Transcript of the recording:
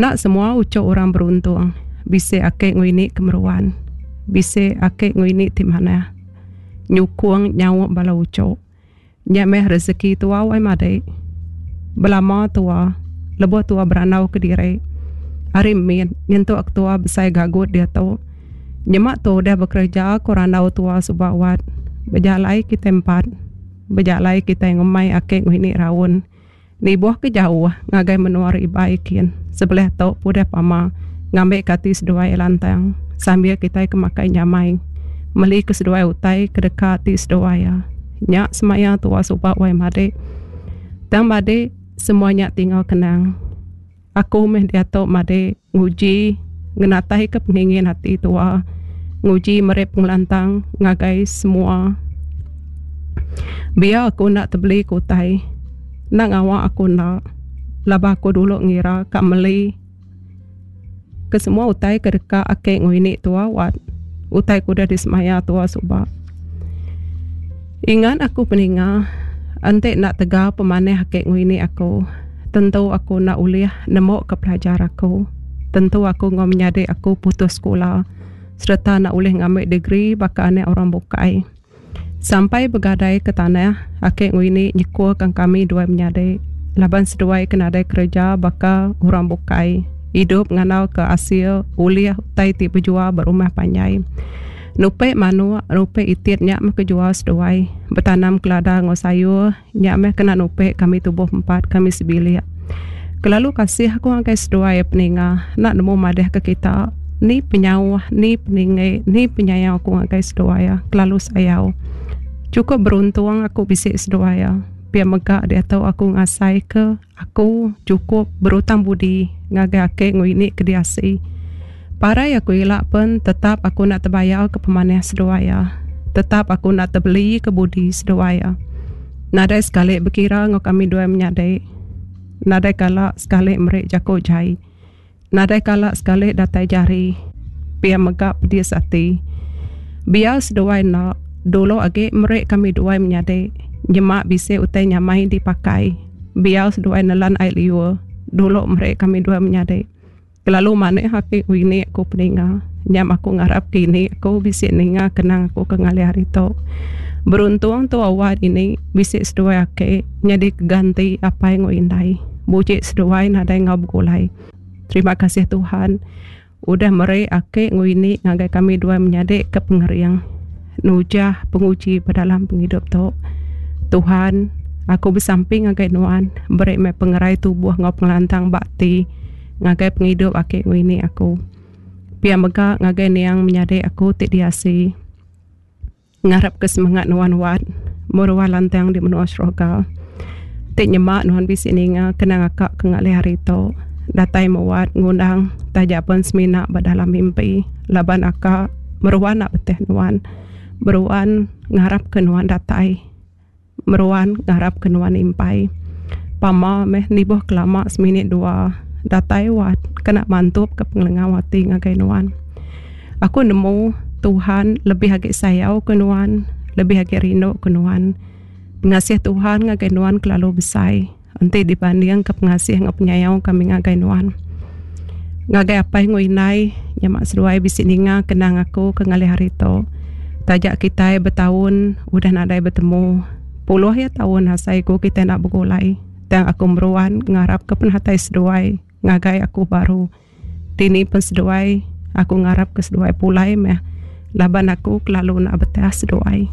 Enda semua uchu orang beruntung bisi ake enggau ini ke meruan. Bisi ake enggau ini ti manah nyukung nyaup bala uchu. Nya meh rezeki tua wai madik. Belama tua lebuh tua berandau kediri ari mit nyentuk tua besai gagut diatu. Nyema tu udah bekereja ku randau tua suba wat bejalai kitai empat bejalai kitai ngemai ake enggau ini raun. Nibuh ke jauh ngagai menua ribai kin sebelah tu pudih pama ngambi ke ati seduai lantang sambil kitai ke makai nyamai meli ke seduai utai ke deka ati seduai iya. Nya semaya tua suba wai madik. Tang madik semua nya tinggal kenang. Aku meh diatu madik nguji ngenatai ke pengingin ati tua nguji meri pengelantang ngagai semua. Biar aku enda tebeli ke utai enda ngawa aku enda laban aku dulu ngira ka meli ke semua utai ke deka ake enggau ini tua wat utai ke udah disemaya tua suba. Ingat aku peninga enti enda tegal pemanah ake enggau ini aku tentu aku enda ulih nemu ke pelajar aku. Tentu aku enggau menyadi aku putus sekula sereta enda ulih ngambi degree baka anak orang bukai. Sampai begadai ke tanah, ake enggau ini nyekul kan kami duai menyadi laban seduai ke nadai kereja baka orang bukai idup ngandau ke asil ulih utai ti bejual ba rumah panjai. Nupi manuk, nupi itit nya meh ke jual seduai. Betanam kelada enggau sayur nya meh kena nupi kami tubuh empat kami sebilik. Kelalu kasih aku ngagai seduai peninga enda nemu madah ke kita ni penyauh ni peninggi ni penyayau aku ngagai seduai iya kelalu sayau. Chukup beruntung aku bisi seduai iya. Pia mega diatu aku ngasai ke aku chukup berutang budi ngagai ake enggau ini ke diasi. Parai aku ila pen tetap aku enda tebayar ke pemanah seduai iya. Tetap aku enda tebeli ke budi seduai iya. Nadai sekali bekira enggau kami duai menyadi. Nadai kala sekali meri jaku jai. Nadai kala sekali datai jari. Pia mega pedis ati. Biar seduai enda dulu agi meri kami duai menyadi nyema bisi utai nyamai dipakai. Biar seduai nelan ai liur dulu meri kami duai menyadi. Kelalu manih agi ini aku peninga. Nyam aku ngarap ke ini aku bisi ninga kenang aku ke ngalih hari tu. Beruntung tu awak ini bisi seduai ake nyadi ke ganti apai enggau indai. Buji seduai nadai enggau begulai. Terima kasih Tuhan udah meri ake enggau ini ngagai kami duai menyadi ke pengering nujah penguji ba dalam pengidup tu. Tuhan aku besampi ngagai nuan beri meh pengerai tubuh enggau pengelantang ba ati. Ngagai pengidup aki enggau ini aku. Pia mega ngagai niang menyadi aku ti diasi. Ngarap ke semengat nuan wat meruan lantang di menua syurga. Ti nyema nuan bisi ninga kenang aka ke ngalih hari tu. Datai meh wat ngundang taja pen semina ba dalam mimpi laban aka meruan nak betih nuan. Meruan ngarap ke nuan datai. Meruan ngarap ke nuan impai. Pama meh nibuh kelama seminit dua datai wat kena mantup ke pengelengau ati ngagai nuan. Aku nemu Tuhan lebih agi sayau ke nuan, lebih agi rindu ke nuan. Pengasih Tuhan ngagai nuan kelalu besai enti dibanding ke pengasih enggau penyayau kami ngagai nuan. Ngagai apai enggau indai nyema seduai bisi ninga kenang aku ke ngalih hari tu. Taja kitai betaun udah nadai betemu puluh iya taun asai ku kitai enda begulai tang aku meruan ngarap ke penatai seduai ngagai aku baru. Dini pen seduai aku ngarap ke seduai pulai meh laban aku kelalu enda betah seduai.